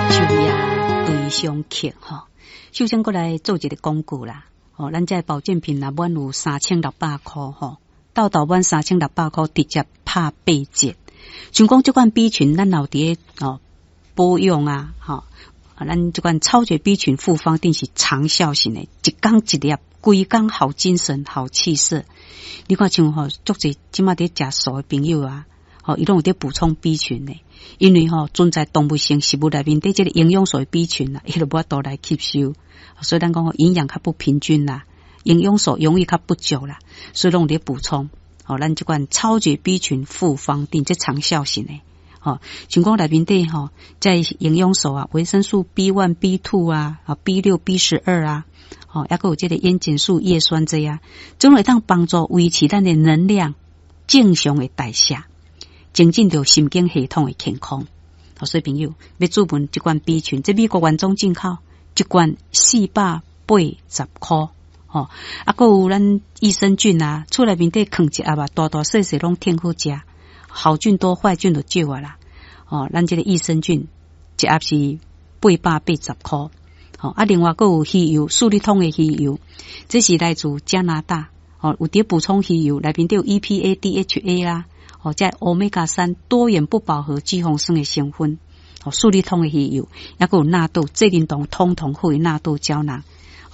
秋夜對上曲吼，首先過來做一个廣告啦。吼，咱這保健品若滿有3600箍吼，鬥鬥滿三千六百箍直接拍八折。像講這款 B 群，咱有佇咧哦保養啊，吼，咱這款超絕 B 群複方錠是長效型的，一工一粒，規工好精神、好氣色。你看像吼，足濟這馬佇食素的朋友啊，吼，伊攏有佇補充 B 群的，因為吼存在動物性食物內面底這个營養素的 B 群啊，伊就無法度來吸收，所以咱講營養較不平均啦，營養素容易較不足啦，所以攏有佇補充。吼，咱這款超絕 B 群複方錠，這長效型的，吼，像講內面底吼，這營養素啊，維生素 B1、B2 啊，啊 B6、B12啊，吼，猶閣有這个煙鹼素、葉酸這啊，總會當幫助維持咱的能量正常的代謝，增進著神經系統的健康。所以朋友欲注文這罐 B 群，這美國原裝進口，一罐480箍。吼，啊，閣有咱益生菌啊，厝內面底囥一盒啊，大大細細攏挺好食，好菌多壞菌就少啊啦。吼，咱這个益生菌一盒是880箍。吼，啊，另外閣有魚油，四力通的魚油，這是來自加拿大，吼，有佇補充魚油，內面底有 EPA、DHA 啦，吼，這歐米伽三多元不飽和脂肪酸的成分，吼，四力通的魚油，猶閣有納豆，濟仁堂通通好的納豆膠囊。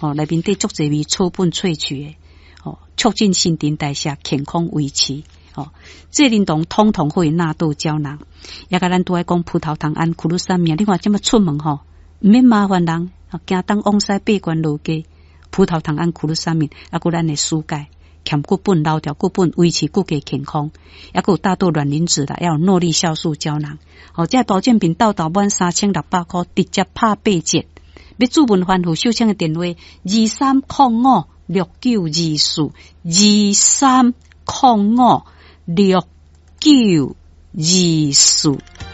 吼，內面底足濟味草本萃取的，吼，促進新陳代謝，健康維持。吼，濟仁堂通通好的納豆膠囊，也共咱拄仔講葡萄糖胺、苦魯三明，你看這麼出門吼，毋免麻煩人，驚東往西爬懸落低，葡萄糖胺、苦魯三明，猶閣咱的舒鈣、強骨本、老條骨本，維持骨骼健康，猶閣有大豆卵磷脂啦，還有諾麗酵素膠囊。吼，這保健品鬥鬥滿三千六百箍，直接拍八折。欲注文番號，秀清的電話23056924，23056924。